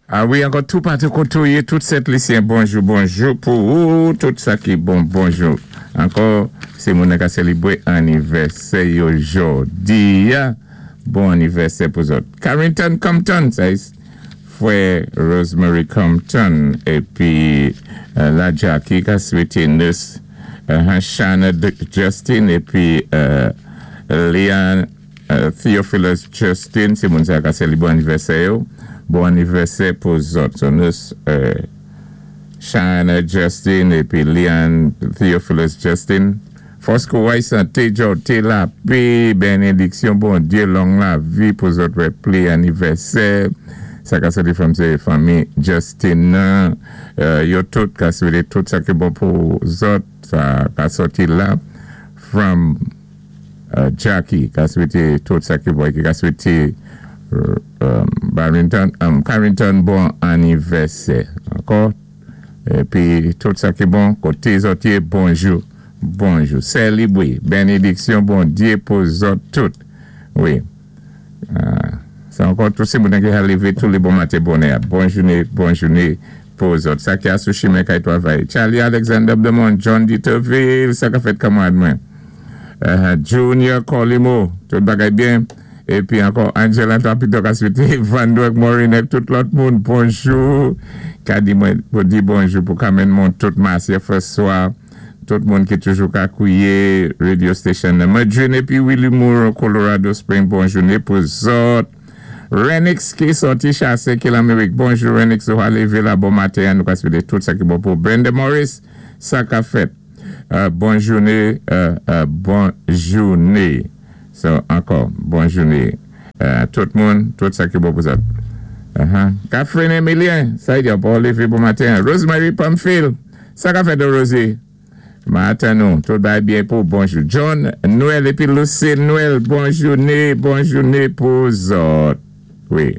A wi, ankò tou patou koté ou yé, tout Sent Lisyen, bonjou, bonjou pou ou, tout sa ki bon, bonjou. Ankò, sé moun ka sélibwé annivèsè yo jòdi a, bon annivèsè pou zòt. Carrington Compton, sa is fwè Rosemary Compton, épi la Jackie ka swété nurse Shana Justin, épi Leon Theophilus Justin, sé moun sa ka sélibwé annivèsè yo. Bon annivèsè pou zòt. So nurse Shana Justin épi Leon Theophilus Justin. Fòs kouway, santé, jòté, lapè, bénédiksyon Bondyé, long lavi pou zòt wè pli annivèsè. Sa ka sòti from sé fanmi Justin nan. Yo tout ka swété tout sa ki bon pou zòt. Sa ka sòti la from Jackie ka swété tout sa ki bon ki ka swété Barrington, Carrington bon annivèsè. Ankò, épi tout sa ki bon, koté zòt yé, bonjou, bonjou. Sélibwé, bénédiksyon Bondyé pou zòt tout. Wi. Sa ankò, tout sé moun ki ka lévé tou lé bon maten bonè. Bon jouné, bon jouné pou zòt. Sa ki a sou chimen kay twavay. Charlie Alexander Blemont, John Dieterville, sa ka fèt kanmarad mwen. Junior Colimo, tout bagay byen. Épi ankò Angela Tapito ka swété Vandrek Morinek, tout lòt moun, bonjou. Ka di mwen pou di bonjou pou Carmen Mont, tout Marcia François, tout moun ki toujou ka kouyé radio station nan. Madrine épi Willy Moore, Colorado Spring, bon jouné pou zòt. Renix ki sòti chasé ki Lamérik. Bonjou Renix, ou lévé la bon maten, nou ka swété tout sa ki bon pou Brenda Morris, sa ka fèt. Bon jouné, bon jouné. So, ankò, bon jouné. Tout moun, tout sa ki bon pou zòt. Catherine Emilien, sa y di pou lévé bon maten. Rosemary Pamphile, sa ka fèt Rosie? Maten nou, tout bagay byen pou bonjou. John Noël épi Lucille Noël, bon jouné, bon jouné pou zòt. Wi.